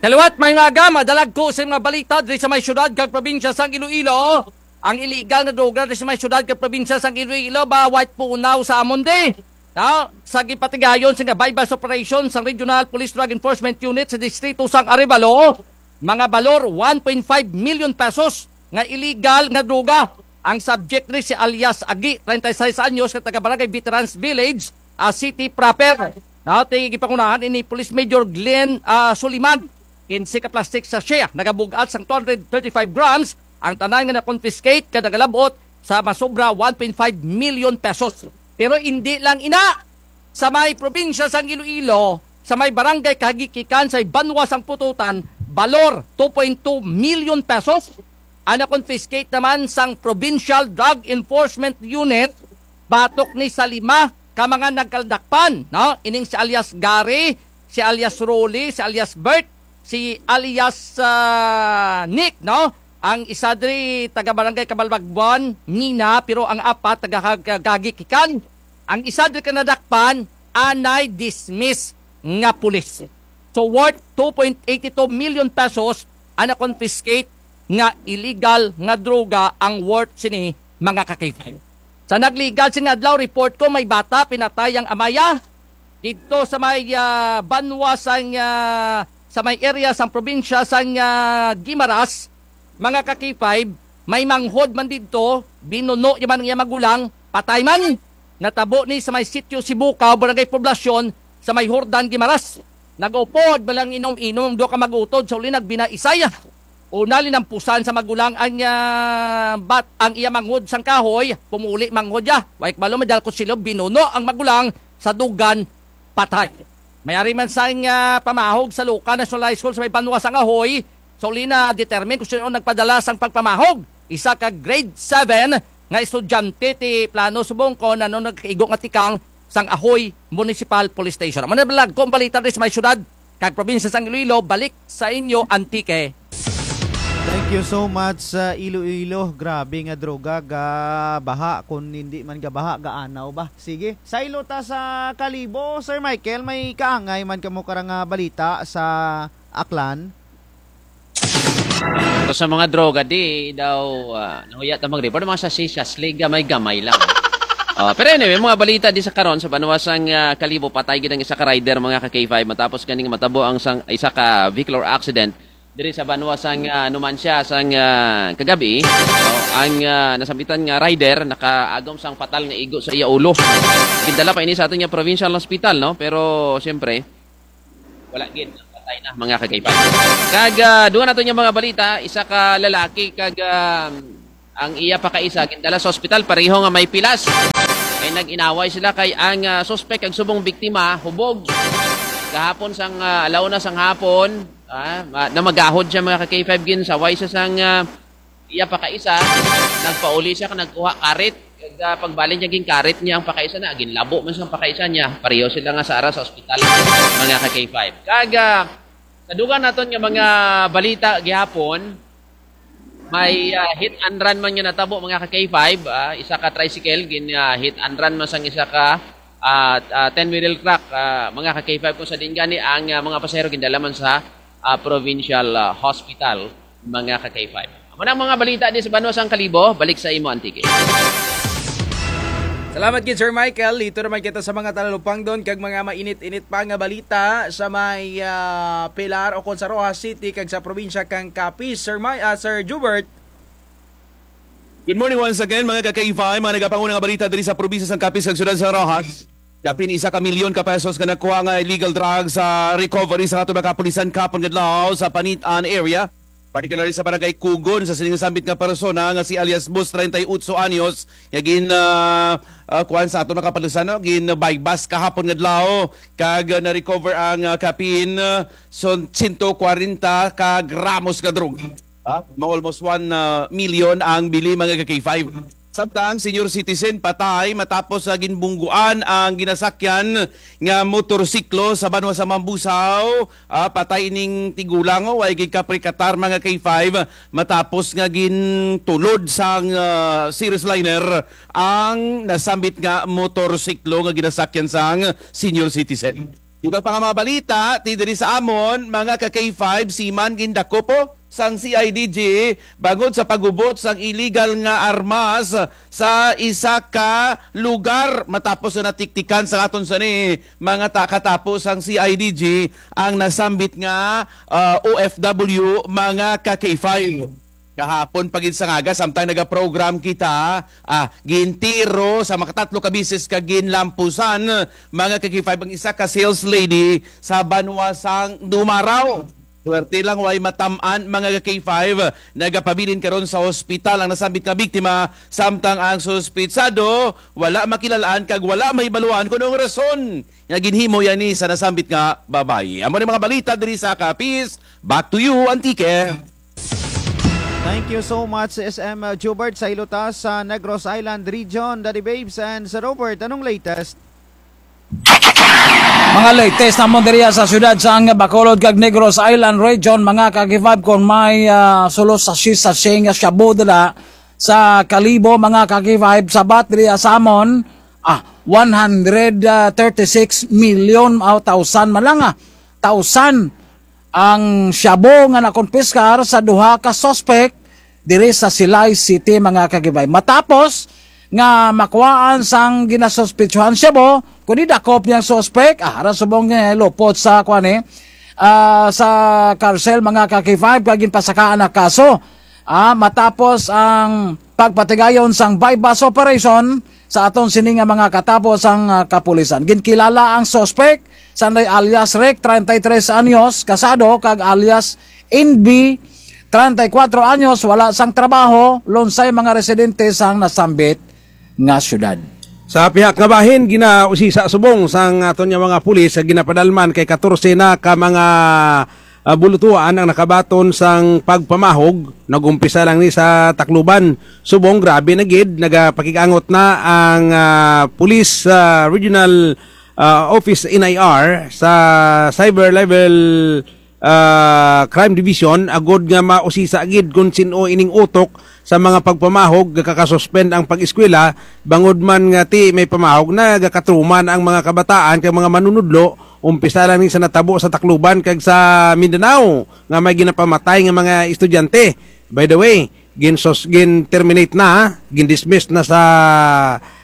Sa liwat, maayong aga, madala ko sa mga balita diri sa may syudad kag probinsya sang Iloilo. Ang iligal nga droga diri sa may syudad kag probinsya sang Iloilo, ba, way punaw sa amon di. No? Sa gipatigayon sa nga buy-bust operation sang Regional Police Drug Enforcement Unit sa distrito sang Arevalo, mga balor one point five million pesos nga iligal nga droga. Ang subject ni si alias Agi, treinta y seis anyos, nga taga Barangay Veterans Village, ah, City Proper. No? Ti gipangunahan ini Police Major Glenn, ah, Soliman, kinse ka plastic sachet, nagabug-at sang two hundred thirty-five grams, ang tanan nga na-confiscate kag nagalab-ot sa masobra one point five million pesos. Pero indi lang ina, sa may probinsya sang Iloilo, sa may barangay Kahagikikan, sa may banwa sang Pututan, balor two point two million pesos ang na-confiscate naman sang Provincial Drug Enforcement Unit, batok ni sa lima ka mga nagkaladakpan, no? Ining si alias Gary, si alias Rolly, si alias Bert, si alias, ah, Nick, no? Ang isa diri taga Barangay Cabalbaguan, Mina, pero ang apat taga Kag-, Kahagikikan. Ang isa diri ka nadakpan, anay dismiss nga pulis. So, worth two point eight two million pesos ang na-confiscate nga illegal nga droga ang worth sini, mga ka-K five. Sa nagligad sini nga adlaw, report ko may bata pinatay ang amaya didto sa may, ah, banwa sang, ah, sa may area sang probinsya sang, ah, Guimaras. Mga ka-K five, may manghod man didto, binuno ya man ang iya magulang, patay man. Natabo ni sa may Sitio Sibukaw, Barangay Poblacion, sa may Jordan, Guimaras. Nag-upod man lang inom-inom, duha ka mag-utod, sa uli nagbinaisay. Una, linampusan sa magulang ang, ah, bat-, ang iya manghod sang kahoy, pumuli manghod ya. Way kabalo, may dala kutsilyo, binuno ang magulang sa dugan, patay. May ari man sang, ah, pamahog sa Luka National High School sa may banwa sang Ajuy. Sa uli na-determine kung sin-o nagpadala sang pagpamahog. Isa ka grade seven nga estudyante ti plano subong kon ano nagkaigo nga tikang sang Ajuy Municipal Police Station. Amo na lang ko ang balita diri sa may syudad kag probinsya sang Iloilo. Balik sa inyo, Antique. Thank you so much sa Iloilo. Grabe nga droga, gabaha. Kung hindi man gabaha, gaanaw ba? Sige. Saylo ta sa Kalibo, Sir Michael, may kaangay man kamo karang, ah, balita sa Aklan? Sa mga droga, di daw, ah, nahuya ta mag-report, mga sachet-sachet, gamay-gamay lang. Ah, pero anyway, mga balita di sa karon, sa banwa sang, ah, Kalibo, patay gid ang isa ka rider, mga ka K five, matapos kaning matabo ang sang, isa ka vehicular accident diri sa banwa sang, ah, Numancia sang, ah, kagab-i. No? Ang, ah, nasambitan nga rider nakaagom sang patal nga igo sa iya ulo. Gindala pa ini sa aton nga provincial hospital, no? Pero siyempre, wala gid, patay na, mga ka K five. Kag, ah, dugang naton nga mga balita, isa ka lalaki kag, ah, ang iya pakaisa gindala sa ospital, pareho nga may pilas. Kay nag-inaway sila kay ang, ah, suspek kag subong biktima hubog. Gahapon sang, ah, ala una sang hapon, ah, ma-, namagahod siya, mga ka K five, ginsaway siya sang, ah, iya pakaisa, nagpauli siya kag nagkuha karit. Kag, ah, pagbalik niya, ginkarit niya ang pakaisa na, ginlabo man sang pakaisa niya. Pareho sila nga sa ara sa ospital, mga ka K five. Kag, ah, sa dugang naton nga mga balita gihapon, may, ah, hit and run man nga natabo, mga ka K five, ah, isa ka tricycle, gin, ah, hit and run man sang isa ka, ah, ah, ten-wheel truck, ah, mga ka K five, kung sa diin gani ang, ah, mga pasahero gindala man sa, ah, provincial, ah, hospital, mga ka K five. Amo na ang mga balita di sa banwa sang Kalibo, balik sa imo, Antique. Salamat gid, Sir Michael. Dito naman kita sa mga talupangdon kag mga mainit-init pa nga balita sa may, ah, Pilar o kon sa Roxas City kag sa probinsya kang Capiz. Sir Mi-, ah, Sir Jubert. Good morning once again, mga ka-K five, mga nagapanguna nga balita diri sa probinsya sang Capiz kag syudad sa Roxas. Kapin isa ka milyon ka pesos nga nakuha nga illegal drugs sa recovery sa aton mga kapulisan kahapon nga adlaw sa Panitan area. Particularly sa barangay Kugon, sa sining sambit nga persona nga si alias Boss, treinta y ocho anyos, nga gin, ah, ah, kuwan sa aton mga kapulisan, no? Gin-buy bust kahapon nga adlaw, kag, ah, na-recover ang, ah, kapin, ah, son-, sento kwarenta ka gramos nga droga. Ha? Ma-, almost one, ah, million ang bili, mga ka-K five. Samtang senior citizen patay matapos sa ginbungguan ang ginasakyan nga motorsiklo sa banwa sa Mambusao. Ah, patay ining tigulang, o, way gid kaprikatar, mga K five, matapos nga gintulod sang, ah, Ceres Liner ang nasambit nga motorsiklo nga ginasakyan sang senior citizen. Iba pa nga mga balita, ti diri sa amon, mga ka-K five, seaman gindakop, o, sang C I D G, bangod sa paghubot sang illegal nga armas sa isa ka lugar. Matapos nga natiktikan sa aton sini, mga ta-, katapo sang C I D G, ang nasambit nga, ah, O F W, mga ka-K five. Kahapon pa gid sang aga, samtang nagaprogram kita, ah, gintiro sa makatatlo ka bisis kag ginlampusan, mga ka-K five, ang isa ka sales lady sa banwa sang Dumarao. Swerte lang way matam-an, mga ka-K five, nagapabilin karon sa ospital ang nasambit nga biktima, samtang ang suspitsado wala makilal-an kag wala mahibaluan kon anong rason nga ginhimo yani sa nasambit nga babayi. Amo ni mga balita diri sa Capiz. Back to you, Antique. Thank you so much, S M Jubert. Saylo ta sa Negros Island Region, Daddy Babes and Sir Robert. Anong latest? Mga latest namon diri sa syudad sang Bacolod kag Negros Island Region, mga ka-K five, kon may, ah, sulos sachet-sachet nga shabu dira sa Kalibo, mga ka-K five, sabat diri sa amon, ah, one hundred thirty-six million, aw, thousand man lang, ah. Thousand ang shabu nga nakumpiskar sa duha ka suspek diri sa Silay City, mga ka-K five. Matapos nga makuhaan sang ginasuspetsuhan shabu, kundi dakop niyang suspek, ah, ara subong, eh, lupot sa kuan, eh, ah, sa karsel, mga ka-K five, kag ginpasakaan na kaso. Ah, matapos ang pagpatigayon sang buy-bust operation sa aton sini nga mga katapo sang, ah, kapulisan. Ginkilala ang suspek, sanday alias Rick, treinta y tres anyos, kasado, kag alias Inbi, treinta y cuatro anyos, wala sang trabaho, lunsay mga residente sang nasambit nga syudad. Sa pihak nga bahin, ginausisa subong sang aton nga mga pulis sa ginapadalman kay katorse na ka mga, ah, bulutuan ang nakabaton sang pagpamahog. Nag-umpisa lang ni sa Tacloban. Subong, grabe na gid, nagapakig-angot na ang, ah, pulis, ah, regional, ah, office, N I R, sa cyber level ah, Crime Division, agud nga mausisa gid kon sin-o ining utok sa mga pagpamahog, gakakasuspend ang pag-eskwela, bangod man nga ti may pamahog na gakatrauma ang mga kabataan kag mga manunudlo, umpisa lang ni sa natabo sa Tacloban kag sa Mindanao nga may ginapamatay nga mga estudyante. By the way, ginsus-, gin-terminate na, gin-dismiss na sa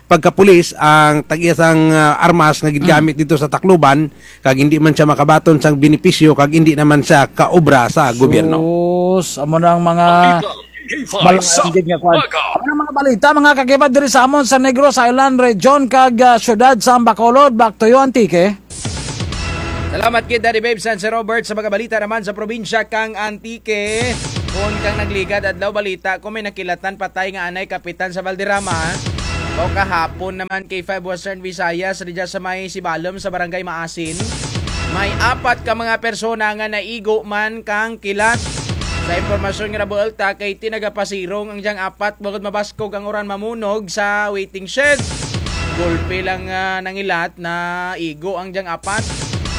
pagkapulis ang tag-iya sang, ah, armas nga gingamit didto sa Tacloban, kag indi man siya makabaton sang benepisyo, kag indi naman siya kaobra sa gobyerno. Sus, amo na ang mga K five sa malangan gid nga kwan. Umaga. Amo na ang mga balita, mga kakipad, diri sa amon sa Negros Island Region kag, ah, siyudad sa Bacolod. Back to you, Antique. Salamat gid, Daddy Babes and Sir Robert, sa mga balita naman sa probinsya kang Antique. Kon kang nagligad adlaw balita, kon may nakilatan patay nga anay kapitan sa Valderrama. O kahapon naman K five Western Visayas, didya sa may Sibalom sa Barangay Maasin. May apat ka mga persona nga naigo man kang kilat. Sa impormasyon nga nabuul ta kay ti nagapasirong ang dyang apat bangod mabaskog ang uran mamunog sa waiting shed. Gulpi lang, ah, nangilat, naigo ang dyang apat.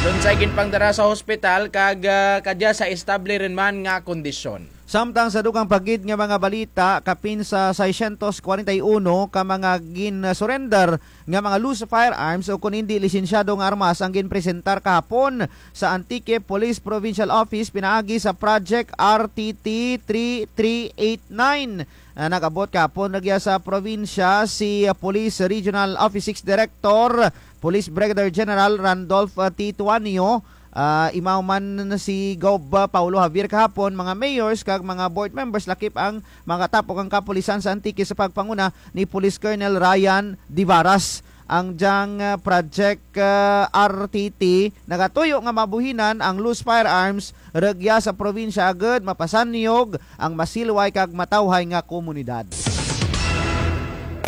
Lunsay ginpangdara sa hospital kag, ah, kadya sa estable run man nga kondisyon. Samtang sa dugang pa gid nga mga balita, kapin sa seiscientos kwarenta y uno ka mga gin-surrender nga mga loose firearms o kon indi lisensyado nga armas ang ginpresentar kahapon sa Antique Police Provincial Office pinaagi sa Project R T T three three eight nine. Ah, nag-abot kahapon rugya sa probinsya si, ah, Police Regional Office six Director, Police Brigadier General Randolph, ah, T. Tuanio, ah, imaw man si Gob, ah, Paulo Javier kahapon, mga mayors kag mga board members lakip ang makatapok ang kapulisan sa Antique sa pagpanguna ni Police Colonel Ryan Divaras. Ang dyang, ah, Project, ah, R T T nagatuyo nga mabuhinan ang loose firearms rugya sa probinsya agud mapasanyog ang masilway kag matawhay nga komunidad.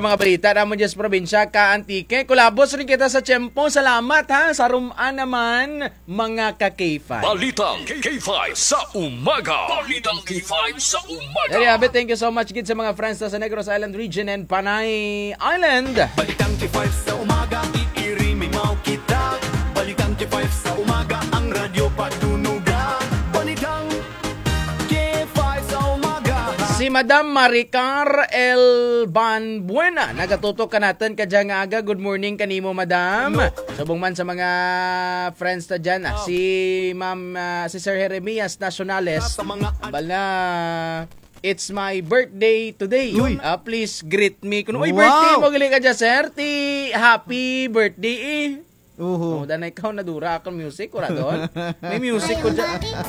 Mga balita namon dyan sa probinsya ka Antique. Kulabos run kita sa tiyempo. Salamat, ha. Sa rum-an naman, mga ka K five. Balitang K five sa umaga. Balitang K five sa umaga. Dali, Abe, thank you so much gid sa mga friends ta sa Negros Island Region and Panay Island. Balitang K five sa umaga, iirimimaw kita. Balitang K five sa umaga, ang radyo patunugan. Balitang K five sa umaga. Si Madam Maricar L. Banbuena, nagatutok kanatun kadya nga aga. Good morning kanimo, Madam. Subong man sa mga friends ta dyan, ah, si Ma'am, ah, si Sir Jeremias Nacionales. Bala, it's my birthday today. Uy. Ah, please greet me. Kuno, uy, birthday mo gali kadya, sir. Ti, happy birthday, eh. Uhu. Oh, danay kaw nadura akun music, wara duon. May music ko dyan.